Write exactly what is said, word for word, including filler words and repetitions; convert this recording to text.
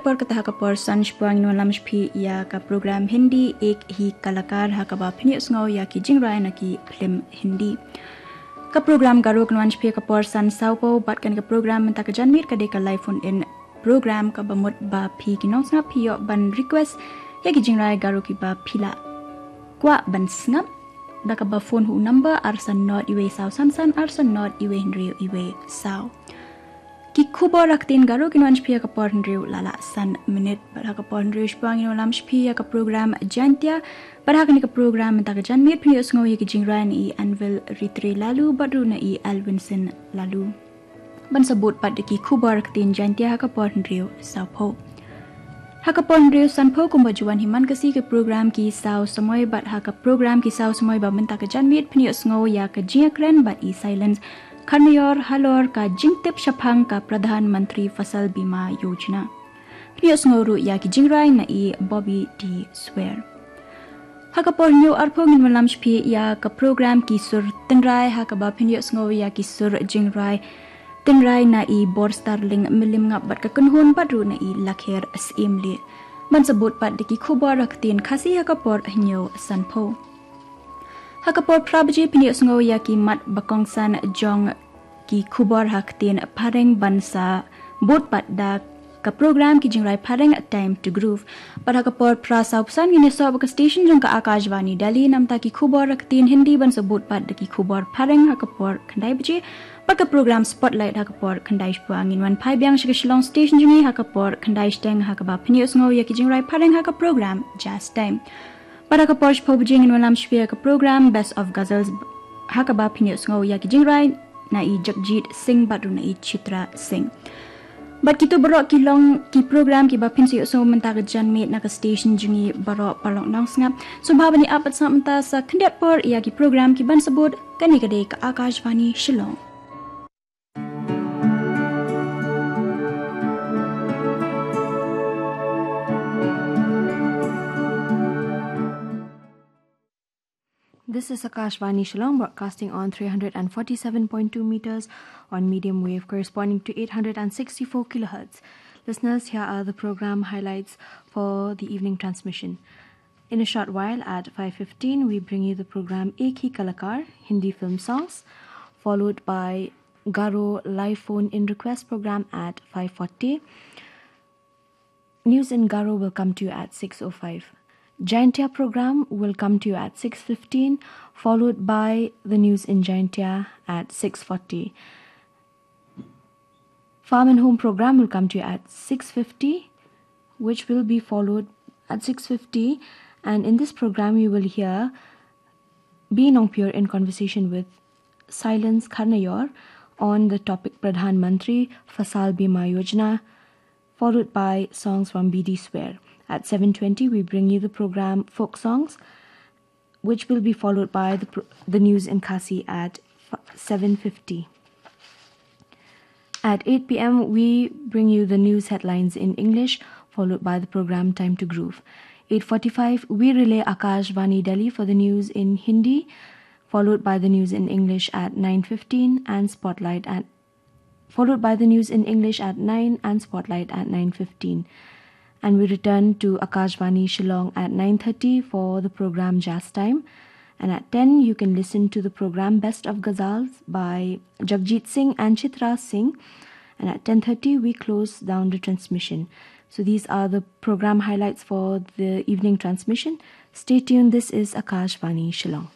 Por kata ha ka por san shiphew ngin wan lam sha phi ïa ka program Hindi Ek Hi Kalakar ha kaba phin ïohsngew ïa ki jingrai na ki phlim Hindi. Ka program Garo kan wan sha phi ha ka por san saw phew bad kane ka program mynta ka janmiet ka dei ka live phone in program kaba mut ba phi ki nongsngap phi ïoh ban request ïa ki jingrai Garo kiba phi la kwah ban sngap da kaba phone ha u number ar san nod iwei saw san san ar san nod iwei hynriew iwei saw. Ki khubor ha ktien Garo kin wan sha phi ha ka por hynriew la lah san minit bad ha ka por hynriew shiphew ngin wan lam sha phi ïa ka program Jaintia. Bad ha kane ka program mynta ka janmiet phin ïohsngew ïa ki jingrai na i Anvil Ritre Lalu bad ruh na i Alvinson Lalu. Ban sa bud pat da ki khubor ha ktien Jaintia ha ka por hynriew saw phew. Ha ka por hynriew san phew kumba ju wan hi man ka sngi ka program Ki Saw Samoi bad ha ka program Ki Saw Samoi ba mynta ka janmiet phin ïohsngew ïa ka jingïakren bad i Silence Kharnaior halor ka jingtip shaphang ka Pradhan Mantri Fasal Bima Yojana. Phin ïohsngew ruh ïa ki jingrai na i Bobby D Swer. Ha ka por hynñiew arphew ngin wan lam sha phi ïa ka program Ki Sur Tynrai ha kaba phin ïohsngew ïa ki sur jingrai tynrai na i Borstarling Mylliem Ngap bad ka kynhun bad ruh na i Lakher Syiem Lieh. Ban sa bud pat da ki khubor ha ktien Khasi ha ka por hynñiew san phew. Ha ka por phra baje phin ïohsngew ïa ki mat ba kongsan jong ki khubor ha ktien Phareng ban sa bud pat da ka program Ki Jingrai Phareng Time to Groove. Bad ha ka por phra saw phew san ngin ïasoh bad ka station jong ka Akashvani Delhi namta ki khubor ha ktien Hindi ban sa bud pat da ki khubor Phareng ha ka por khyndai baje. Bad ka program Spotlight ha ka por khyndai shiphew ngin wan phai biang sha ka Shillong station jong ngi ha ka por khyndai shiteng ha kaba phin ïohsngew ïa ki jingrai Phareng ha ka program Jazz Time. Bad ha ka por shiphew baje ngin wan lam sha phi ïa ka program Best of Ghazals ha kaba phin ïohsngew ïa ki jingrai na i Jagjit Singh bad ruh na i Chitra Singh. Bad kito baroh ki long ki program kiba phin sa ïohsngew mynta ka janmiet na ka station jong ngi baroh paralok nongsngap. Sngewbha ban ïa ap bad sngap mynta sa khyndiat por ïa ki program ki ban sa bud. Kane ka dei ka Akashvani Shillong. This is Akashvani Shillong, broadcasting on three hundred and forty-seven point two meters on medium wave, corresponding to eight hundred and sixty-four kilohertz. Listeners, here are the program highlights for the evening transmission. In a short while, at five fifteen, we bring you the program Ek Hi Kalakar, Hindi film songs, followed by Garo live phone in request program at five forty. News in Garo will come to you at six oh five. Jaintia program will come to you at six fifteen, followed by the news in Jaintia at six forty. Farm and Home program will come to you at six fifty, which will be followed at six fifty. And in this program, you will hear B Nongpure in conversation with Silence Kharnaior on the topic Pradhan Mantri Fasal Bima Yojana, followed by songs from B D Swer. At seven twenty, we bring you the program Folk Songs, which will be followed by the, pr- the news in Khasi at f- seven fifty. At eight p.m., we bring you the news headlines in English, followed by the program Time to Groove. Eight forty-five, we relay Akashvani Delhi for the news in Hindi, followed by the news in English at nine fifteen and Spotlight at followed by the news in English at nine and Spotlight at nine fifteen. And we return to Akashvani Shillong at nine thirty for the program Jazz Time. And at ten, you can listen to the program Best of Ghazals by Jagjit Singh and Chitra Singh. And at ten thirty, we close down the transmission. So these are the program highlights for the evening transmission. Stay tuned. This is Akashvani Shillong.